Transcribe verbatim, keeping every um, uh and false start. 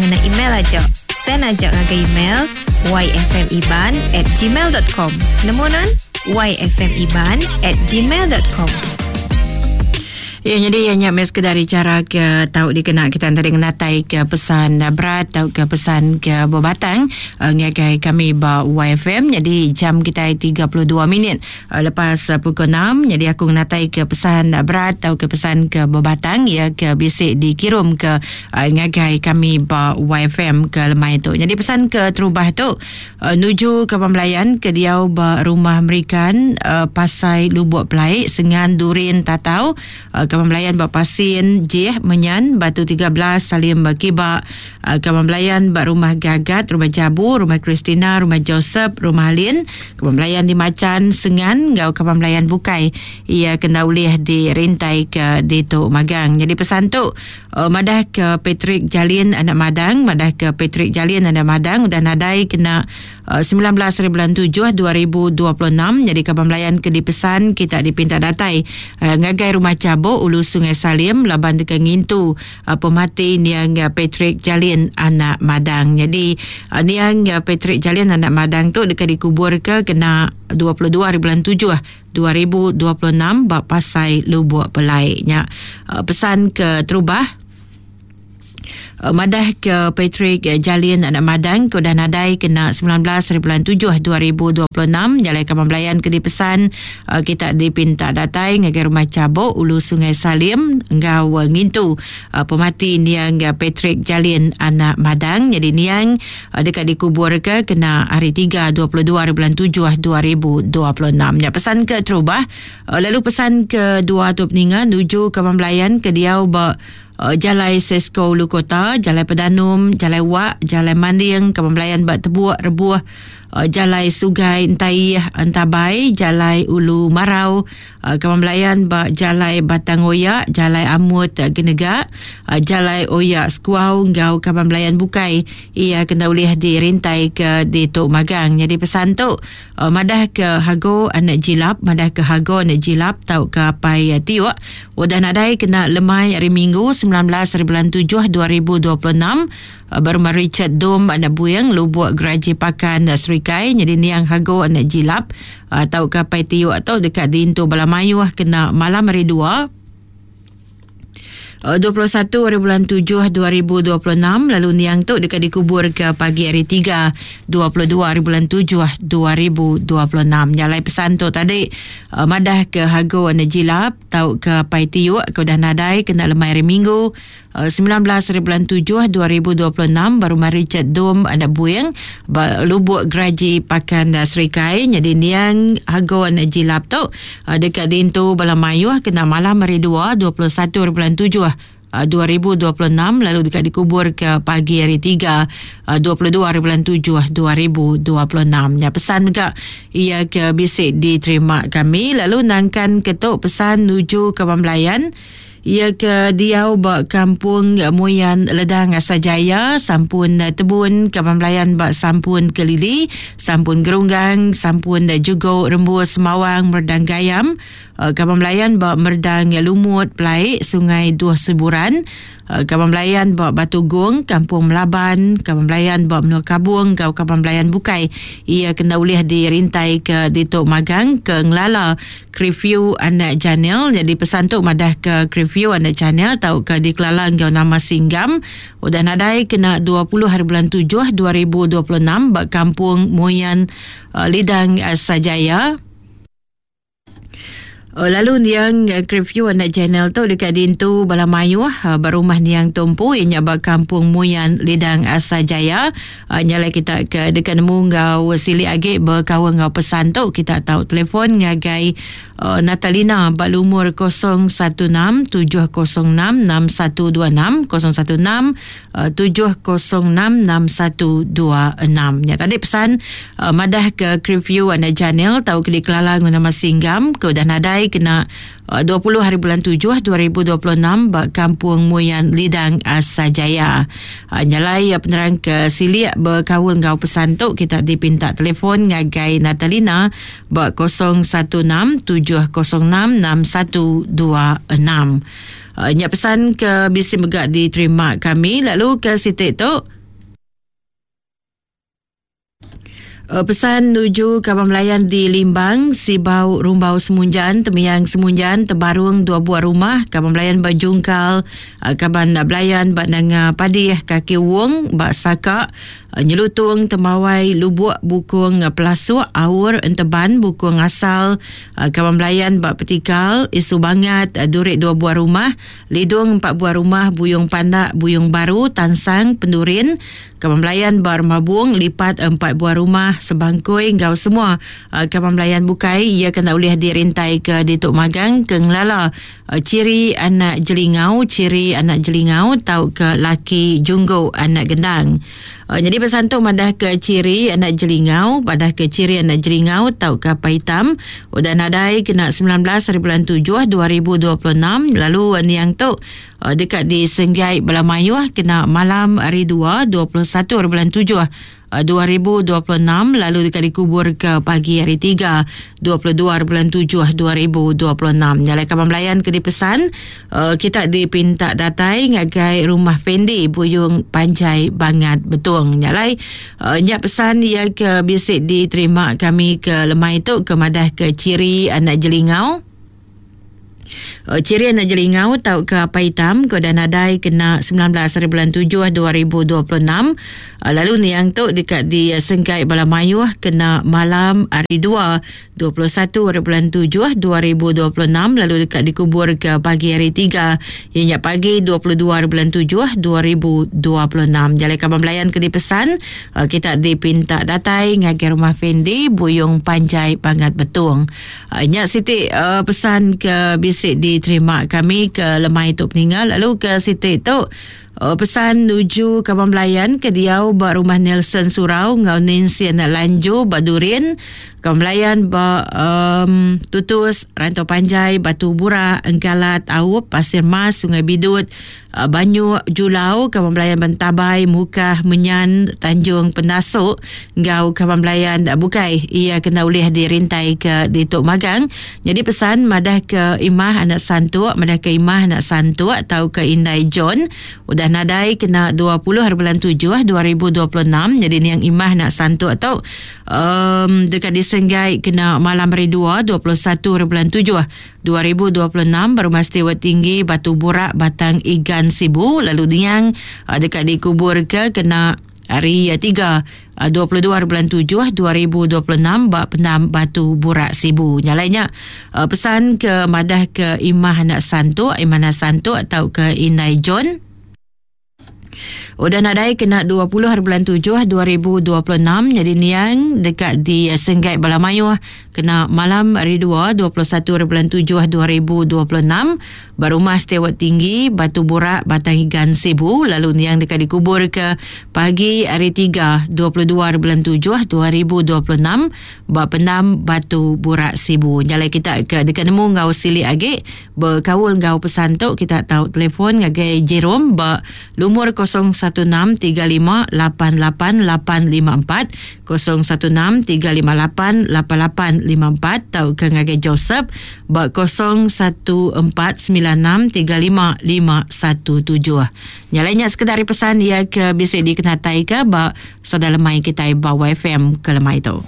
ngena email aja. Send aja ngagai email yfmiban at gmail dot com. Nemu non? yfmiban at gmail dot com. Ya, jadi yang nyak mes dari cara ke tahu dikena kita tadi ngenatai ke pesan berat atau ke pesan ke berbatang uh, ngagai kami ba Y F M. Jadi jam kita tiga puluh dua minit uh, lepas uh, pukul enam. Jadi aku ngenatai ke pesan berat atau ke pesan ke berbatang ya ke bisik dikirim ke uh, ngagai kami ba Y F M ke lemai tu. Jadi pesan ke terubah tu uh, nuju ke pembelayan ke diau ba rumah Merikan uh, Pasai Lubuk Pelai Sengan Durin Tatau uh, Kawan Belayan bak Pasin Jih Menyan Batu tiga belas Salim Kiba, Kawan Belayan bak Rumah Gagat, Rumah Jabu, Rumah Christina, Rumah Joseph, Rumah Alin, Kawan Belayan di Macan Sengan ngau Kawan Belayan Bukai ia kena ulih dirintai ke Ditu Magang. Jadi pesan tu uh, madah ke Patrick Jalin anak Madang, madah ke Patrick Jalin anak Madang udah nadai kena uh, sembilan belas hari bulan tujuh dua ribu dua puluh enam. Jadi Kawan Belayan ke dipesan kita dipinta datai uh, ngagai Rumah Cabuk Ulu Sungai Salim laban dekat ngintu uh, pemati niang Patrick Jalin anak Madang. Jadi uh, niang Patrick Jalin anak Madang tu dekat dikubur ke kena dua puluh dua hari bulan tujuh dua ribu dua puluh enam bak Pasai Lubuk Pelai. Nya uh, pesan ke terubah madah ke Patrick Jalin anak Madang ke udah nadai kena sembilan belas hari bulan tujuh dua ribu dua puluh enam. Jalai Kawan Belayan ke dipesan kita dipinta datai ngagai Rumah Cabuk Ulu Sungai Salim ngau ngintu pemati niang Patrick Jalin anak Madang. Jadi niang dekat dikubur ke kena hari tiga dua puluh dua hari bulan tujuh dua ribu dua puluh enam. Ya, pesan ke terubah lalu pesan ke dua tu peninga nuju Kawan Belayan ke diau ba Uh, Jalai Sesko Ulu Kota, Jalai Pedanum, Jalai Wak, Jalai Manding, Kawan Belayan Bak Tebuak, Rebuh, uh, Jalai Sugai Entai Entabai, Jalai Ulu Marau, uh, Kawan Belayan Bak Jalai Batang Oyak, Jalai Amut uh, Genegak, uh, Jalai Oyak Sekuau, Ngau Kawan Belayan Bukai. Ia kena ulih dirintai ke di Tok Magang. Jadi pesan tu uh, madah ke Hago anak Jilap, madah ke Hago anak Jilap tau ke Pai uh, Tiuk. Udah nadai kena lemai hari Minggu sembilan belas hari bulan tujuh dua ribu dua puluh enam berumah Richard Dom anak Buyang Lubuk Geraji Pakan Serikai. Jadi niang Hago anak Jilap atau ke Pai Tiuk atau dekat Dintu Balamayuh kena malam hari dua dua puluh satu hari bulan tujuh dua ribu dua puluh enam. Lalu niang tu dekat dikubur ke pagi hari tiga dua puluh dua hari bulan tujuh dua ribu dua puluh enam. Nyalai pesan tu tadi uh, madah ke Hago anak Jilap tau ke Pai Tiuk ke udah nadai kena lemai hari Minggu uh, sembilan belas hari bulan tujuh dua ribu dua puluh enam baru mari Richard Dom anak Buyang Lubuk Geraji Pakan Serikai. Jadi niang Hago anak Jilap tu uh, dekat Dintu Balamayuh kena malam hari dua dua puluh satu hari bulan tujuh dua ribu dua puluh enam lalu dekat dikubur ke pagi hari tiga dua puluh dua hari bulan tujuh dua ribu dua puluh enam. Ya, pesan juga ia ke bisik diterima kami. Lalu nangkan ketuk pesan nuju ke Pembelayan ia ke diau bak kampung Muyan Ledang Asajaya, Sampun Tebun, Kampung Belayan bak Sampun Kelili, Sampun Gerunggang, Sampun Jugo Rembus Semawang Merdang Gayam, Kampung Belayan bak Merdang Lumut Pelaik Sungai Duh Seburan, Kampung Belayan bak Batu Gong, Kampung Melaban, Kampung Belayan bak Menua Kabung, kau Kampung Belayan Bukai. Ia kena ulih dirintai ke Ditok Magang ke Ngelala Krifyu anak Janil. Jadi pesan tu madah ke Krifyu anak Janil tau ke dikelala ngau nama Singgam. Udah nadai kena dua puluh hari bulan tujuh dua ribu dua puluh enam bak Kampung Muyan Lidang Sajaya. Lalu niang Krifyu anak channel tu dekat Dintu Balamayuh berumah niang Tumpu ianya bak Kampung Muyan Lidang Asajaya. Nyalai kita ke dekat nemu ngau silik agi berkawan ngau pesan tu kita tahu telefon ngagai uh, Natalina bak lumur kosong satu enam tujuh kosong enam enam satu dua enam kosong satu enam tujuh kosong enam enam satu dua enam. Ya tadi pesan uh, madah ke Krifyu anak channel tahu ke dikelala guna nama Singgam ke udah nadai kena dua puluh hari bulan tujuh dua ribu dua puluh enam bak Kampung Muyan Lidang Asajaya. Nyalai penerang ke Silik berkawan ngau pesan tu kita dipinta telefon ngagai Natalina bak kosong satu enam tujuh kosong enam enam satu dua enam. Uh, nya pesan ke bisi mega diterima kami lalu ke siti tu pesan nuju kaban belayan di Limbang, Sibau, Rumbau Semunjan, Temiang Semunjan, Tebarung dua buah rumah, kaban belayan ba Jungkal, kaban belayan ba Nanga Padih, Kaki Wong, ba Saka, Nyelutung, Temawai, Lubuk, Bukung Pelasuk, Aur, Enteban, Bukung Asal, kaban belayan ba Petikal, Isu Bangat, Durik dua buah rumah, Lidung empat buah rumah, Buyung Pandak, Buyung Baru, Tansang, Pendurin, kaban belayan ba Remabung, Lipat empat buah rumah, Sebangkui ngau semua uh, kaban belayan bukai ia kena ulih dirintai ke Dituk Magang ke ngelala uh, ciri anak jelingau, ciri anak jelingau tau ke laki junggu anak gendang. Uh, jadi pesan tu madah ke ciri anak jelingau, madah ke ciri anak jelingau tau ke apa hitam udah nadai kena sembilan belas hari bulan tujuh dua ribu dua puluh enam lalu uh, niang tu uh, dekat di Senggai Belamayuh kena malam hari dua dua puluh satu hari bulan tujuh dua ribu dua puluh enam lalu dekat dikubur ke pagi hari tiga dua puluh dua bulan tujuh dua ribu dua puluh enam. Nyalai kaban belayan ke dipesan uh, kita dipinta datai ngagai rumah Fendi Buyung Panjai Bangat Betung. Nyalai uh, nyak pesan ia ke bisik diterima kami ke lemai tu ke madah ke ciri anak jelingau. Ciri anak jelingau tau ke apa hitam ke dan nadai kena sembilan belas hari bulan tujuh dua ribu dua puluh enam lalu niang tu dekat di Sengkai Balamayuh kena malam hari dua dua puluh satu hari bulan tujuh dua ribu dua puluh enam lalu dekat dikubur ke pagi hari tiga ianya pagi dua puluh dua hari bulan tujuh dua ribu dua puluh enam. Jalai kaban belayan ke dipesan kita dipinta datai ngagai rumah Fendi Buyung Panjai Bangat Betung. Nya siti pesan ke bisik diterima kami ke lemai tu peninggal lalu ke siti tu pesan nuju kaban belayan ke diau ba rumah Nelson Surau ngau Nancy anak Lanju ba Durin, kaban belayan ba um, Tutus, Rantau Panjai, Batu Burak, Engkalat, Aup, Pasir Mas, Sungai Bidut, Banyu Julau, kaban belayan Bentabai, Mukah, Menyan, Tanjung Penasuk ngau kaban belayan bukai ia kena ulih dirintai ke Dituk Magang. Jadi pesan madah ke Imah anak Santuk, madah ke Imah anak Santuk atau ke Indai John udah nadai kena dua puluh hari bulan tujuh dua ribu dua puluh enam. Jadi niang Imah anak Santuk atau um, dekat disenggai kena malam hari dua dua puluh satu hari bulan tujuh dua ribu dua puluh enam berumah Stewart Tinggi Batu Burak Batang Igan Sibu lalu niang uh, dekat dikubur ke kena hari tiga dua puluh dua bulan tujuh dua ribu dua puluh enam bak pendam Batu Burak Sibu. Nyalainya pesan ke madah ke Imah anak Santuk, Imah anak Santuk atau ke Inai John udah nadai kena dua puluh hari bulan tujuh dua ribu dua puluh enam. Jadi niang dekat di Senggai Balamayuh kena malam hari dua dua puluh satu hari bulan tujuh dua ribu dua puluh enam berumah Stewart Tinggi Batu Burak Batang Igan Sibu lalu niang dekat dikubur ke pagi hari tiga dua puluh dua hari bulan tujuh dua ribu dua puluh enam bak pendam Batu Burak Sibu. Nyalai kita ke dekat nemu ngau silik agi berkaul ngau pesan tu kita tahu telefon ngagai Jerome bak lumur kosong satu enam tiga lima lapan lapan lapan lima empat kosong satu enam tiga lima lapan lapan lapan lima empat atau ke ngagai Joseph bak kosong satu empat sembilan enam tiga lima lima satu tujuh. Nyalainya sekedar pesan ia ke bisik dikenatai ke bak saudara lemai kita bak Y F M ke lemai tu.